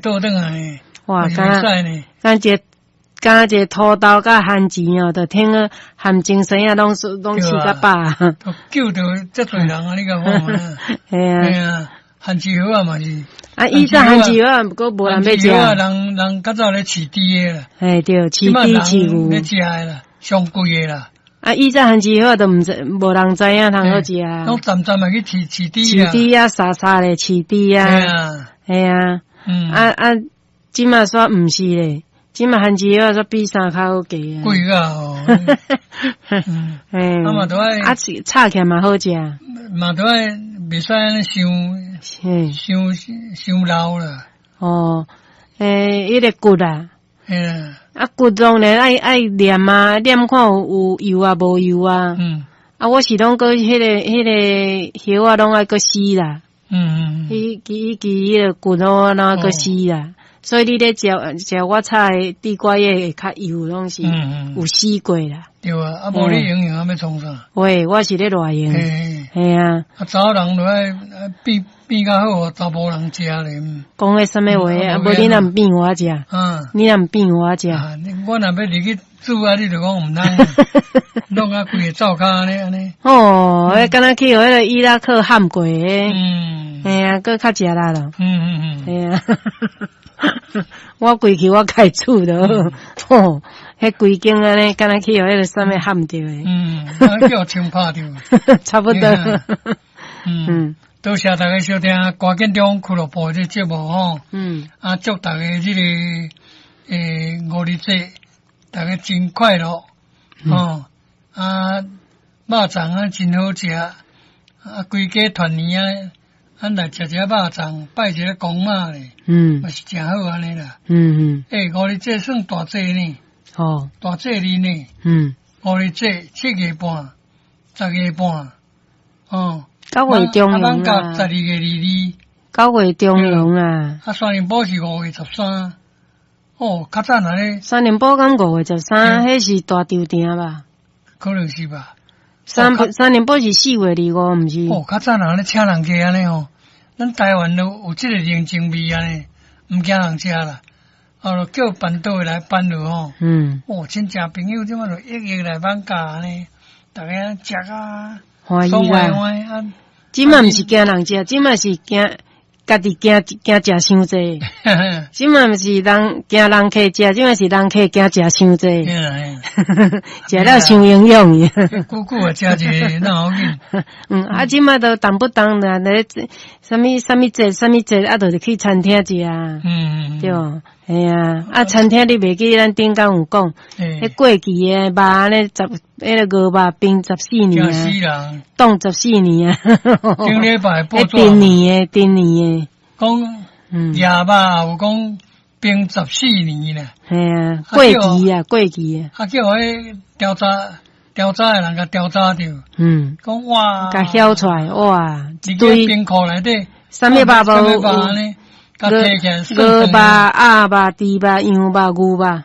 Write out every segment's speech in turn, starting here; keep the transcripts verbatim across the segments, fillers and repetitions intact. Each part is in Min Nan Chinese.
倒轉來呢。哇，嘛是敢袂使呢。敢一个敢一個土豆佮番薯哦，就聽個含精神啊，攏攏飼較飽。都救著遮濟人啊！你共看啊？嘿啊。嘿啊，番薯葉仔嘛是。啊，以前番薯葉仔，毋過無人欲食。人人較早咧飼豬的啦。嘿對，飼豬飼牛。咧食的啦，上貴的啦。啊，以前番薯葉仔都毋知，無人知影通好食啊。攏攢攢嘛去飼飼豬飼豬啊，沙沙咧飼豬啊。嘿啊。嘿啊。嗯。啊啊，這馬煞毋是咧，這馬番薯葉仔煞比啥較好價啊。貴啊！哦。嗯。嘿。啊嘛都愛。啊，炒起來嘛好食。嘛都愛袂使按呢傷，傷傷老啦。哦，欸，彼個骨啊。嘿啊。啊，骨當然愛愛驗啊，驗看有有油啊，無油啊。嗯。啊，我是攏閣彼個彼個葉仔攏愛閣洗啦。嗯嗯嗯。彼彼彼彼個骨攏攏愛閣洗啦。所以你咧食食我炒的地瓜葉會較油，攏是有洗過啦。對啊，啊無你營養欲創啥？喂，我是咧偌用。嘿啊。啊，查某人就愛變變較好，查埔人食咧。講彼啥物話啊？無你若毋變我食。嗯。你若毋變我食。我若欲入去煮啊，你就講毋通，弄啊規个灶跤按呢按呢。哦，彼敢若去予彼个伊拉克撼過的。嗯。嘿啊，閣較食力咯。嗯嗯嗯。嘿啊。我規去我家煮就好，吼，彼規間按呢，敢若去予彼个啥物撼著的。嗯，叫槍拍著。差不多。嗯，多謝大家收聽歌建中俱樂部這節目吼。嗯。啊，祝大家這個欸五日節，大家真快樂。吼，啊，肉粽啊真好食，啊，規家團圓啊。咱來食一下肉粽，拜一下公媽咧，嗯，嘛是誠好按呢啦。嗯嗯。欸，五日節算大節呢。哦。大節日呢。嗯。五日節七月半，十月半，哦。九月中旬啊。十二月二二。九月中旬啊。啊，三重埔是五月十三。哦，較早按呢。三重埔敢五月十三，彼是大稻埕吧？可能是吧。三三重埔是四月二五，毋是？哦，較早人咧請人客按呢吼，咱台灣都有這個人情味按呢，毋驚人食啦。哦，叫辦桌的來辦落吼。嗯。哦，親戚朋友這馬就一一來放假按呢，逐家食啊，歡喜啦。這馬毋是驚人食，這馬是驚家己驚驚食傷濟。這馬毋是人驚人客食，這馬是人客驚食傷濟。食了傷營養。久久啊，食一個那好緊。嗯，啊，這馬都動不動啦，咧啥物啥物節啥物節，啊，就是去餐廳食啊。嗯嗯。對，嘿啊，啊，餐廳你袂記咱頂工有講，彼過期的肉按呢十，彼個牛肉冰十四年啊，凍十四年啊。頂禮拜報紙。陳年的，陳年的。講，野肉有講冰十四年啦。嘿啊，過期啊，過期啊。啊，叫彼調查調查的人共調查著。嗯。講哇。共曉出來哇，一堆。冰庫內底。啥物肉無？牛牛肉、鴨肉、豬肉、羊肉、牛肉。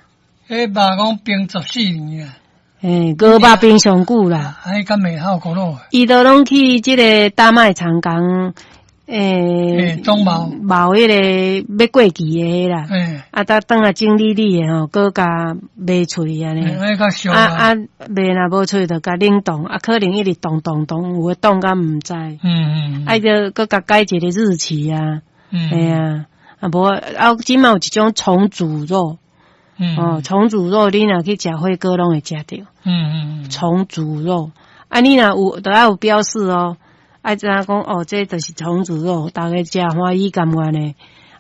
彼肉講冰十四年啊。欸，牛肉冰上久啦。哎，敢袂好古老。伊都攏去這个大賣場共。欸，總貿貿彼个欲過期的彼啦，啊，搭轉來整理理的吼，閣共賣出去按呢。啊啊，賣若無出去，就共冷凍，啊，可能一直凍凍凍，有的凍甲毋知。嗯嗯。啊，就閣共改一个日期啊。嗯。嘿啊，啊無啊，這馬有一種重組肉。嗯。哦，重組肉，你若去食火鍋攏會食著。嗯嗯嗯。重組肉，啊，你若有，都愛有標示哦。愛知影講哦，這就是重組肉，逐家食歡喜甘願的。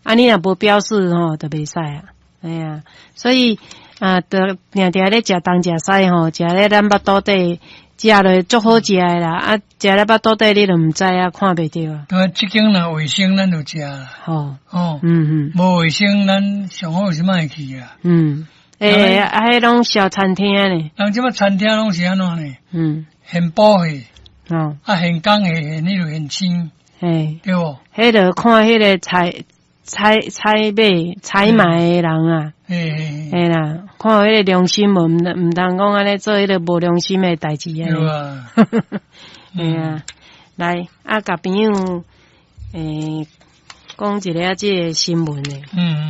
啊，你若無標示吼，就袂使啊。哎啊，所以啊，就定定咧食東食西吼，食咧咱腹肚底食落足好食的啦。啊，食咧腹肚底你就毋知啊，看袂著啊。對，這間若衛生，咱就食啦。吼哦，嗯嗯，無衛生，咱上好是莫去啊。嗯，欸，啊，彼攏小餐廳呢？人這馬餐廳攏是按怎呢？嗯，現補的。哦，啊，現工的，現彼就現煎，嘿，對無？彼就看彼个採採採買採買的人啊，嘿，嘿啦，看彼个良心無，毋毋通講按呢做彼个無良心的代誌啊。對啊，嘿啊，來啊，共朋友，欸，講一下這个新聞的。嗯。